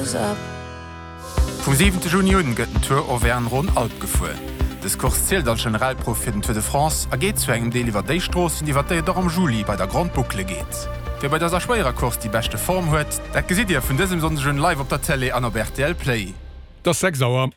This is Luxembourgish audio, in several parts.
was up. Vum siwente Juni un gëtt den Tour Auvergne-Rhône-Alpes gefuer. Dës Course zielt als Generalprouf fir den Tour de France a geet zu engem Deel iwwer déi Stroossen, iwwer déi et och am Juli bei der Grande Boucle geet. Wie bei dëser schwéierer Course déi beschte Form huet, dat gesitt Dir vun dësem Sonndeg un live op der Télé an op rtl Play. Et ass 6 Auer.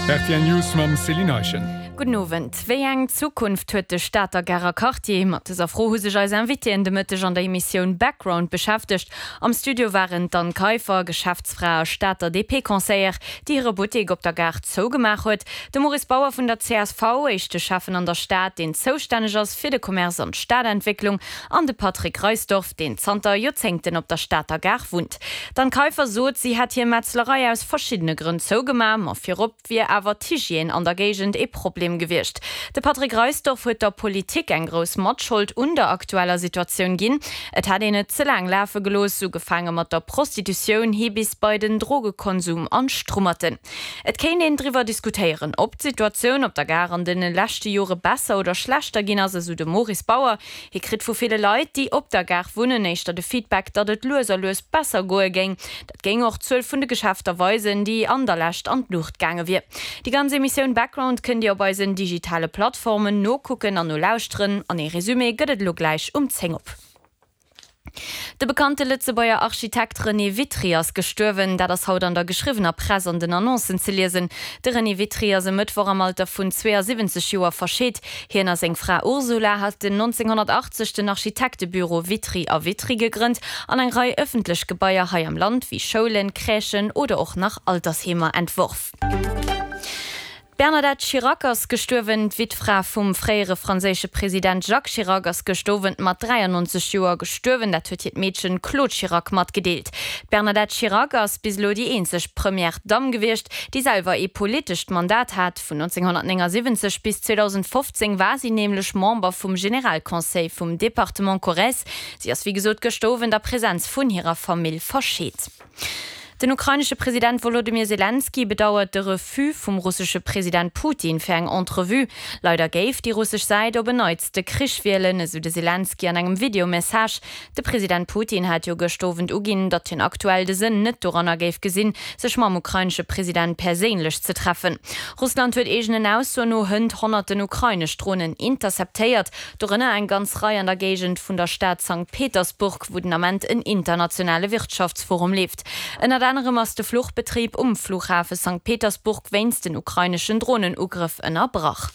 Rtl News mam Céline Eischen. Gudden Owend. Wéi eng Zukunft huet de Stater Garer Quartier? Mat dëser Fro hu sech eis Invitéen de Mëtteg an der Emissioun Background beschäftegt. Am Studio waren d'Anne Kaiffer, Geschäftsfra a Stater DP-Conseillère, déi hire Buttek op der Gare zougemaach huet, de Maurice Bauer vun der csv, éischte Schäffen an der Stad, deen zoustänneg ass fir de Commerce an d'Stadentwécklung, an de Patrick Reisdorf, deen zanter Joerzéngten op der Stater Gare wunnt. D'Anne Kaiffer sot, si hätt hir Metzlerei aus verschiddene Grënn zougemaach, ma virop wier awer d'Hygiène an der Géigend ee Problem gewiescht. De Patrick Reisdorf huet der Politik eng grouss Matschold un der aktueller Situatioun ginn. Et hätt een et ze laang lafe gelooss, ugefaange mat der Prostitutioun hi bis bei den Drogekonsum an d'Strummerten. Et kéint een driwwer diskutéieren, ob d'Situatioun op der Gare an de leschte Jore besser oder schlechter ginn ass, esou de Maurice Bauer. Hie kritt vu ville Leit, déi op der Gare wunnen, éischter de Feedback, datt et lues a lues besser goe géing. Dat géing och d'Zuel vun de Geschäfter weisen, déi an der Lescht an d'Luucht gaange wier. Déi ganz Emissioun Background kënnt Dir op eisen digitale Plattformen nokucken an nolauschteren. An ee Resumé gëtt et elo gläich um 10 op. De bekannte Lëtzebuerger Architekt René Witry ass gestuerwen. Dat ass haut an der geschriwwener Press an den Annoncen ze liesen. De René Witry ass e Mëttwoch am Alter vun 72 Joer verscheet. Hien a seng Fra Ursula haten 1980 den Architektebüro Witry a Witry gegrënnt an eng Rei ëffentlech Gebaier hei am Land wéi Schoulen, Crèchen oder och nach Altersheemer entworf. D'Bernadette Chirac ass gestuerwen. D'Wittfra vum fréiere franséische President Jacques Chirac ass gëscht Owend mat 93 Joer gestuerwen. Dat huet hiert Meedchen Claude Chirac matgedeelt. D'Bernadette Chirac ass bis elo déi eenzeg Première Dame gewiescht, déi selwer ee politescht Mandat hat. Vun 1979 bis 2015 war si nämlech Member vum Generalconseil vum Departement Corrèze. Si ass wéi gesot gëschter Owend a Presenz vun hirer Famill verscheet. Den ukrainesche President Wolodymyr Selenskyj bedauert de Refus vum russesche President Putin fir eng Entrevue. Leider géif déi russesch Säit op en Neits de Krich wielen, esou de Selenskyj an engem Videomessage. De President Putin hat jo gëscht Owend uginn, datt hien aktuell de Sënn net doranner géif gesinn, sech mam ukrainesche President perséinlech ze treffen. Russland huet eegenen Aussoen no hënt honnerten ukrainesch Dronen interceptéiert, dorënner eng ganz Rei an der Géigend vun der Stad Sankt Petersburg, wou den Ament en internationale Wirtschaftsforum leeft. Ënnert anerem ass de Fluchbetrib um Flughafe Sankt Petersburg wéinst den ukraineschen Dronenugrëff ënnerbrach.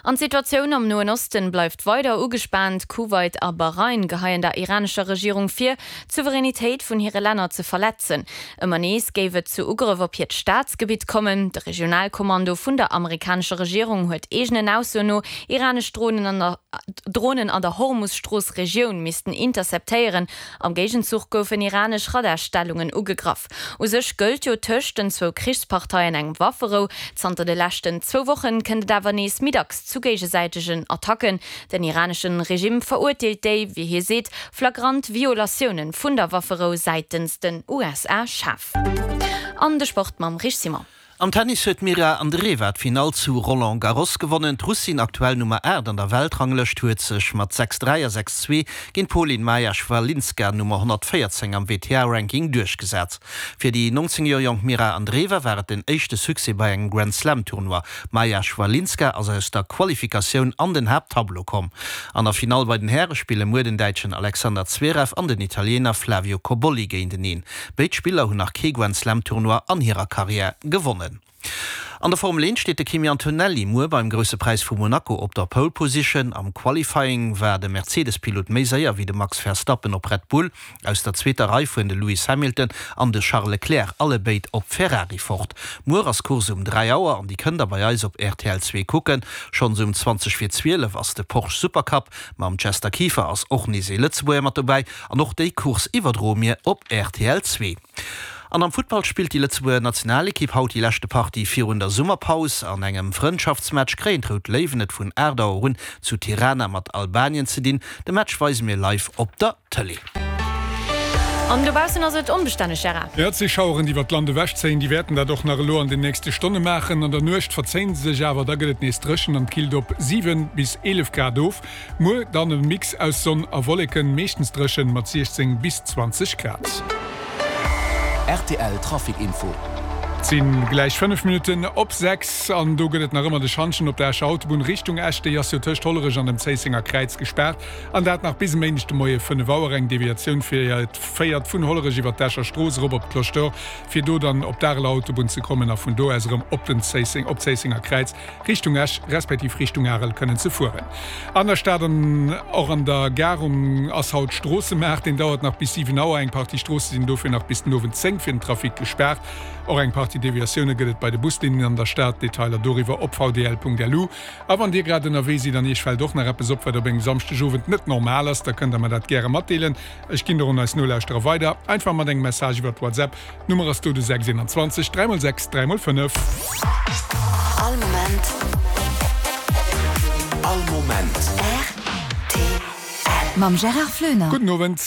An d'Situatioun am Noen Osten bleift weider ugespaant. Kuwait a Bahrain geheien der iranescher Regierung vir, d'Souveränitéit vun hire Länner ze verletzen. Ëmmer nees géif et zu Ugrëff op hiert Staatsgebitt kommen. De Regionalkommando vun der amerikanescher Regierung huet eegenen Aussoen no iranesch Dronen an der Dronen an der Hormus-Strooss-Regioun missten interceptéieren. Am Géigenzuch goufen iranesch Radarstellungen ugegraff. U sech gëllt jo tëscht den zwou Krichsparteien eng Wafferou. Zanter de leschten zwou Wochen kënnt et awer nees méi dacks zu géigesäitegen Attacken. Den iraneschen Regime verurteelt déi, wéi hie seet, flagrant Violatioune vun der Wafferou säitens den USA schaarf. An de Sport mam Rich Simon. Am Tennis huet d'Mirra Andreeva d'Finall zu Roland Garros gewonnen. D'Russin, aktuell Nummer 8 an der Weltranglëscht, huet sech mat 6, 3 a 6, 2 géint d'Polin Maja Chwalinska, Nummer 114 am WTA-Ranking, duerchgesat. Fir déi 19 Joer jonk Mirra Andreeva war et den éischte Succès bei engem Grand-Slam-Tournoi. D'Maja Chwalinska ass aus der Qualifikatioun an den Haapttableau komm. An der Finall bei den Häre spille muer den Däitschen Alexander Zverev an den Italiener Flavio Cobolli géinteneen. Béid Spiller hunn nach kee Grand-Slam-Tournoi an hirer Karriär gewonnen. An der Formel 1 steet de Kimi Antonelli muer beim Grousse Präis vu Monaco op der Pole Position. Am Qualifying war de Mercedes-Pilot méi séier wéi de Max Verstappen op Red Bull. Aus der zweeter Rei fueren de Lewis Hamilton an de Charles Leclerc allebéid op Ferrari fort. Muer ass d'Course um 3 Auer an déi kënnt der bei eis op rtl 2 kucken. Schonns um 20 vir 12 ass de Porsche Supercup. Mam Chester Kieffer ass och nees ee Lëtzebuerger mat dobäi an och déi Course iwwerdroe mir op rtl 2. An am Futtball spillt déi Lëtzebuerger Nationalekipp haut déi leschte Partie virun der Summerpaus. An engem Frëndschaftsmatch kréien d'Rout Léiwen et vun 8 Auer un zu Tirana mat Albanien ze dinn. De Match weise mir live op der Tëlee. An dobaussen ass et onbestänneg, Gérard. Jo, et si Schaueren, déi iwwer d'Land ewechzéien. Déi wäerten dat och nach elo an den nächste Stonne maachen. An der Nuecht verzéien se sech awer, da gëtt et nees dréchen an killt op 7 bis 11 Grad of. Muer dann e Mix aus Sonn a Wolleken, meeschtens dréchen mat 16 bis 20 Grad. Rtl Trafic Info. Et si gläich 5 Minutten op 6 an do gëtt et nach ëmmer de Schantjen op der Escher Autobunn Richtung Esch. Déi ass jo tëscht Hollerech an dem Zéissenger Kräiz gespaart an dat nach bis e Méindeg de Moie 5 Auer. Eng Deviatioun féiert vun Hollerech iwwer d'Escher Strooss erop op d'Cloche d'Or, fir do dann op d'Areler Autobunn ze kommen a vun do aus erëm op den Zéisseng, op d'Zéissenger Kräiz. Richtung Esch respektiv Richtung Arel kënnen ze fueren. An der Stad an och an der Gare um ass haut Stroossemaart. Deen dauert nach bis 7 Auer. Eng Partie Stroosse sinn dofir nach bis den Owend 10 fir den Trafic gespaart. Och eng Partie Deviatioune gëtt et bei de Buslinnen an der Stad. Detailer doriwwer op vdl.lu. A wann Dir grad ënnerwee sidd an Iech fält och nach eppes op, wat op engem Samschdegowend net normal ass, da kënnt der mer dat gäre matdeelen. Ech ginn der un eis Nolauschterer weider, einfach mat engem Message iwwert WhatsApp. D'Nummer ass do de 6 21 3 x 6 3 x 5. All Moment. All Moment. Rtl. Mam Gérard Floener. Gudden Owend.